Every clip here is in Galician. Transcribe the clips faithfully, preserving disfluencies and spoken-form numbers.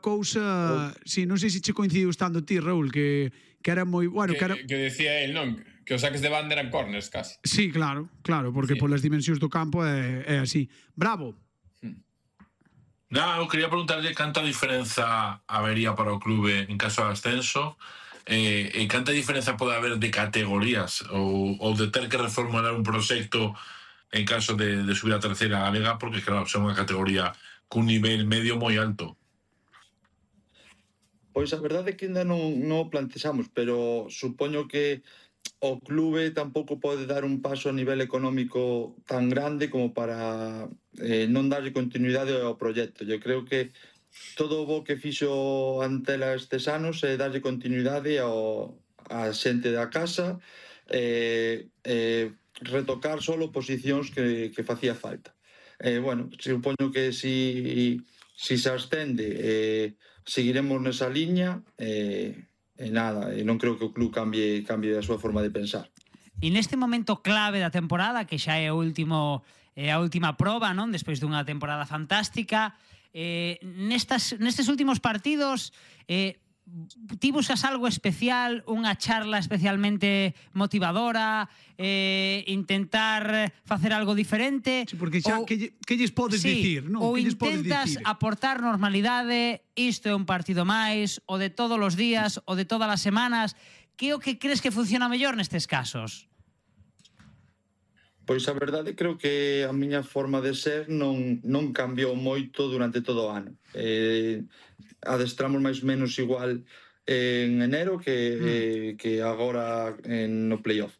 cousa, si, non sei se che coincidiu estando ti, Raúl, que que era moi, bueno, que era Que decía el, non, que os saques de banda eran corners casi. Sí, claro, claro, porque polas dimensións do campo é é así. Bravo. Non, eu quería preguntarlle canta diferenza habería para o clube en caso de ascenso e eh, canta diferenza pode haber de categorías ou, ou de ter que reformular un proxecto en caso de, de subir a terceira galega, porque claro, son unha categoría cun nivel medio moi alto. Pois a verdade é que ainda non, non o plantexamos, pero supoño que o clube tampouco pode dar un paso a nivel económico tan grande como para eh, non darlle continuidade ao proxecto. Eu creo que todo o bo que fixo Antela estes anos é darlle continuidade ao, a xente da casa, e eh, eh, retocar solo posicións que, que facía falta. Eh, bueno, supoño que si, si se ascende eh, seguiremos nesa liña e, e nada, e non creo que o club cambie, cambie a súa forma de pensar. E neste momento clave da temporada, que xa é o último, é a última proba, non? Despois dunha temporada fantástica, eh, nestas, nestes últimos partidos eh, ti buscas algo especial, unha charla especialmente motivadora, eh, intentar facer algo diferente? Sí, porque xa, ou, que, que lles podes sí, dicir, non? Ou que lles podes intentas dicir? aportar normalidade, isto é un partido máis, o de todos os días, o de todas as semanas. Que é o que crees que funciona mellor nestes casos? Pois a verdade creo que a miña forma de ser non, non cambiou moito durante todo o ano. Eh, adestramos máis ou menos igual en enero que, mm. eh, que agora en, no playoff.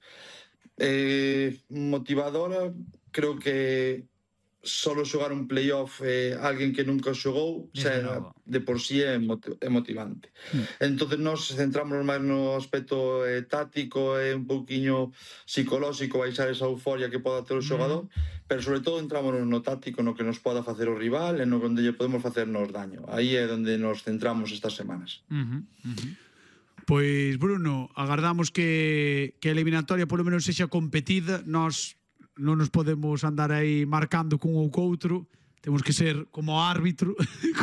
Eh, motivadora, creo que solo xogar un playoff eh, alguén que nunca xogou, xa, de por sí é, é motivante. Mm. Entón, nos centramos máis no aspecto eh, táctico e un pouquiño psicolóxico, baixar esa euforia que poda ter o xogador, mm. pero sobre todo entramos no táctico, no que nos poda facer o rival e no onde lle podemos facernos daño. Aí é onde nos centramos estas semanas. Uh-huh, uh-huh. Pois, Bruno, agardamos que, que a eliminatoria polo menos sexa competida. Nós non nos podemos andar aí marcando cun ou coutro, temos que ser como árbitro,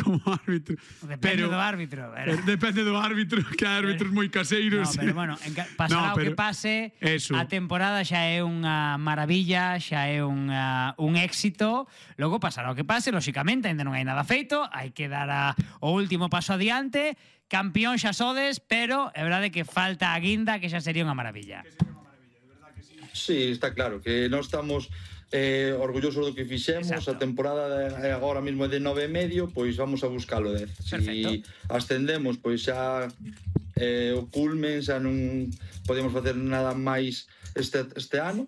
como árbitro. Depende pero, do árbitro. Pero... Depende do árbitro, que hai árbitros moi caseiros. No, pero bueno, pasará no, pero, o que pase, eso. A temporada xa é unha maravilla, xa é unha, un éxito, logo pasará o que pase, lóxicamente, ainda non hai nada feito, hai que dar a, o último paso adiante, campeón xa sodes, pero é verdade que falta a guinda, que xa sería unha maravilla. Que sería unha maravilla, de verdad que sí. Sí, está claro, que non estamos... Eh, orgullosos do que fixemos. Exacto. A temporada de, agora mesmo é de nove e medio, pois vamos a buscalo dez. Si ascendemos, pois xa eh, o culmen, xa non podemos facer nada máis este, este ano.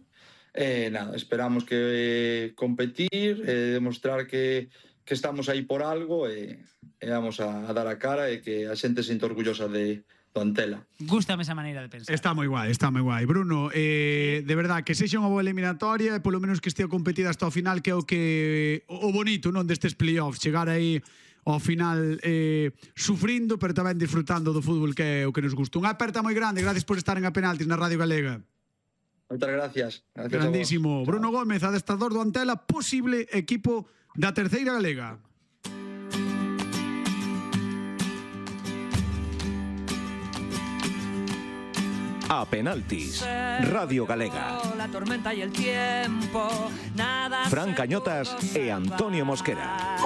Eh, nada, esperamos que eh, competir, eh, demostrar que, que estamos aí por algo e, e vamos a, a dar a cara e que a xente se sinta orgullosa de do Antela. Gústame esa maneira de pensar. Está moi guai, está moi guai. Bruno, eh, de verdad, que sexa unha boa eliminatoria e polo menos que estea competida hasta o final, que é o que o bonito, non, destes playoffs, chegar aí ao final eh, sufrindo, pero tamén disfrutando do fútbol, que é o que nos gusta. Unha aperta moi grande, gracias por estar en A Penaltis na Radio Galega. Moitas gracias. Gracias. Grandísimo. Bruno Gómez, adestrador do Antela, posible equipo da terceira galega. A Penaltis, Radio Galega. La tormenta y el tiempo, nada. Fran Cañotas e Antonio Mosquera.